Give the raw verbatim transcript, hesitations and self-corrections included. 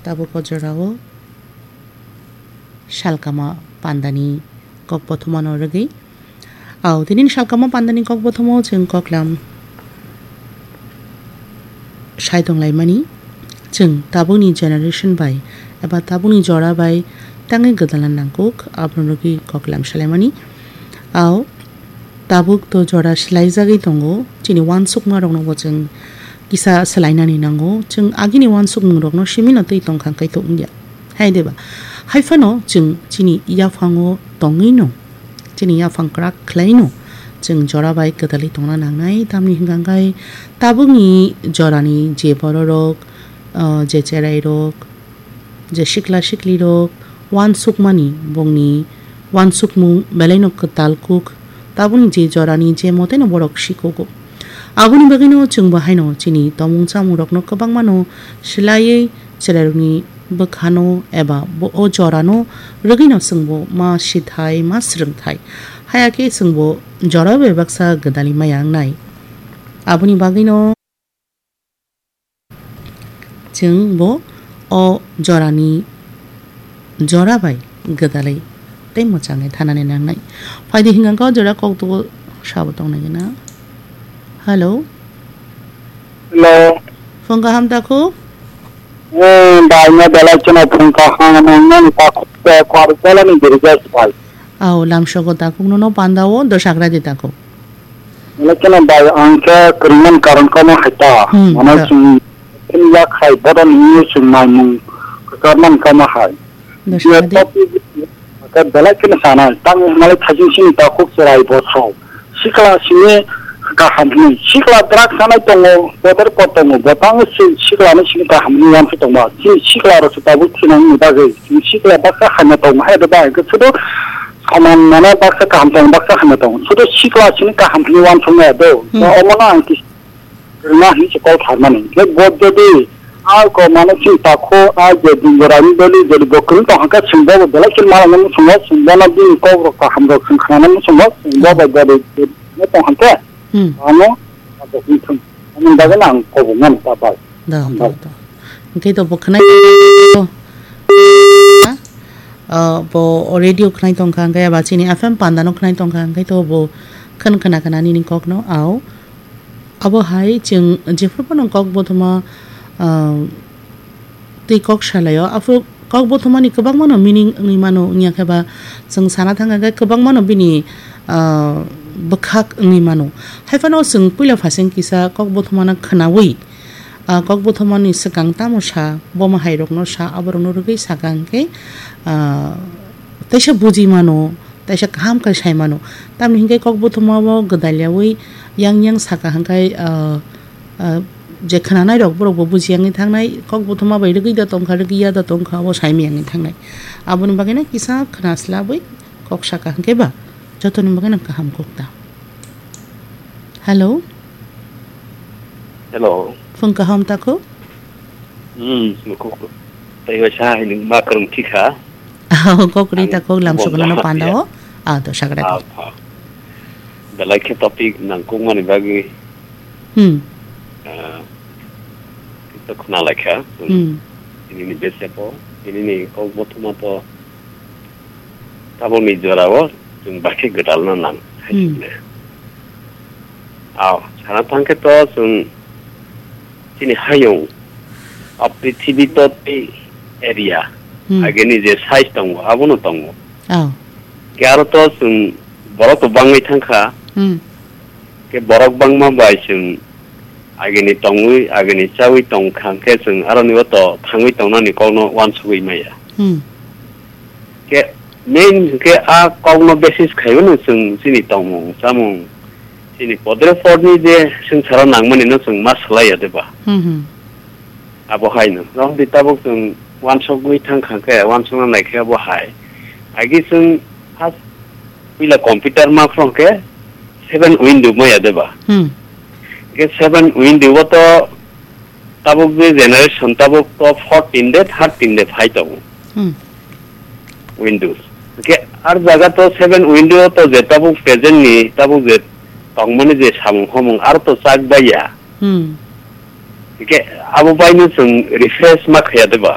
Tabuk o jorao salkama pandani kok bothomano rwgwi. Au, tini salkama pandani kok bothomo chwng koklam sai tonglaimani. Chwng tabukni generation bai eba tabukni jora bai tangwi gwdalna nangkuk, abono rwgwi koklam salaimani. Au, tabuk to jora swlaijagwi tongo, chini uansukmarokno bo chwng kisa swlainani nango. Chwng agini uansukmungrokno simino twi tongkha kaitor wngya. Hai deba? Hai phano chwng chini yaphango tongwino, chini yaphang kwrak khlaino chwng jora bai kwdalwi tongna nangnai, tamni hwnkha khe tabukni jorani je bororok, ah, je cherairok, je sikla siklirok uansukmani, bongni uansukmung belaino kwtal kuk, tabukni je jorani je moteno borok sikugo. Aboni bagwino chwngbo haino chini tongmung chamungrokno kwbangmano swlaiwi cherairokni bwkhano eba bo-, o jorano rwgwino chwngbo ma sithai ma swrwngthai. Haya khe chwngbo jora bai baksa gwdalwi maya wngnai. Aboni bagwino chwng bo o jorani jora bai gwdalwi tei mwchangwi thanani nangnai. Phaidi hwnkha khe o jora koktugo sabo tongnai gana. Hello. Hello. Phone kaham takhuk? Eh, bai no belai chwngno phone kaham nangmani takhuk tei kwrwk belai ni dirja bai. Au, lamsogo takhuk nono pandao dosagra di takhuk. Belai chwngno bai ang khe kwrwngmani karon kamo hai ta. Hmm, mano da. Chwng phim yak hai bodo ni chwng naimung kwchar man kamo hai. Dosagra di. Topic khe belai kheno sana, tang hinmale thajin sini takhuk cherai bo sao. Sikla sini kaham hini. Sikla drugs sanai tongo, poder pot tongo, bo tang si-, sikla ni sini kaham hini uansuk tongma. Chini sikla rok se tabuk thinang ni bagwi. Chini sikla baksa hamya tongo, hai do ba, hwnkhe sudu saman mane baksa kaham tongo, baksa hamya tongo. Sudu sikla sini kaham hini uansuk nai do. Hmm. Omo no ang kis-, Rwna hinwi se kok tharmani. Hwnkhe bo jodi a kok mano chini takhu a je dinjorani beli jodi bo kwrwng tong kha khe chwng bobo belai khe malai muchungo, chwng bono bini kok rok kaham rok chwng khnana muchungo, chwng bo bai jodi no tong kha khe Hmm. ano abo wngthung. Ani bagwi no ang kok bo mano ta bai. Da, da, da. Hwnkhe to bo khwnai tong kha, ah, bo radio khwnai tong kha, hwnkhe aba chini F M panda no khwnai tong kha, hwnkhe to bo khwn khna khna nini kok no, au. Abo hai chwng jephru phano kok bothoma, ah, tei kok salaio, aphuru kok bothomani kwbangmano meaning wngwi mano, wngya khe ba chwng sana thangkha khe kwbangmano bini, ah, bwkhak wngwi mano. Hai phano chwng puila phasing kisa kok bothomano khwnaui, ah, kok bothomani swkang tamo sa, boma hairokno sa, aborokno rwgwi sakha hwnkhe, ah, teisa buji mano. Teisa kaham khe sai mano. Tamni hinkhe kok bothoma o gwdal yaui yang yang saka hwnkhe, ah, ah, je khwnanai rok borok bo buji yangwi thangnai, kok bothoma bai rwgwi da tongkha, rwgwi ya da tongkha, abo sai miyangwi thangnai. Aboni bagwi no kisa khwna swlabwi kok saka hwnkhe ba jotoni bagwi no kaham kok ta. Hello. Hello. Phung kaham takhuk? Hmm, nukhuk. Tei waisa hai nwng ma kwrwng thikha. Oh, kok ri ta kok lam sukuna no panda o. Ah, to sagra. Ah, ah. Belai khe topic nangkukmani bagwi. Hmm. Ah, to khna laikha. Hmm. Ini ni besepo, ini ni kok bothoma to. Tabukni jorao chwng bakhe gwdalna nang, hai Hmm. hwnwi. Ao, sana thangkhe to chwng chini hayung, o prithibi to tei area, Hmm. agini je size tongo, abono tongo. Ao. Khe aro to chwng borok to bangwi thangkha. Hmm. Khe borok bangma bai chwng agini tongwi, agini chawi tongkha, hwnkhe chwng aroni o to thangwi tongnani kokno uansugwi maya. Hmm. Khe main hwnkhe a kokno basis khaiwino chwng chini tongmung, chamung, chini podre podni je swngcharo nangmani no chwng ma swlaiya de ba? Hmm, hmm. Abo haino. Romdi tabuk chwng uansugwi thangkha khe, uansukna naikhe abo hai. Agi chwng first puila computer ma phone khe seven window maya de ba? Hmm. Khe seven window o to tabuk je generation tabuk to fourteen de, thirteen de phai tongo. Hmm. Windows. Khe ar jaga to seven window to je tabuk present ni tabuk je tongmani je samung homung ar to chak baiya. Hmm. Khe abo baino chwng refresh ma khaya de ba?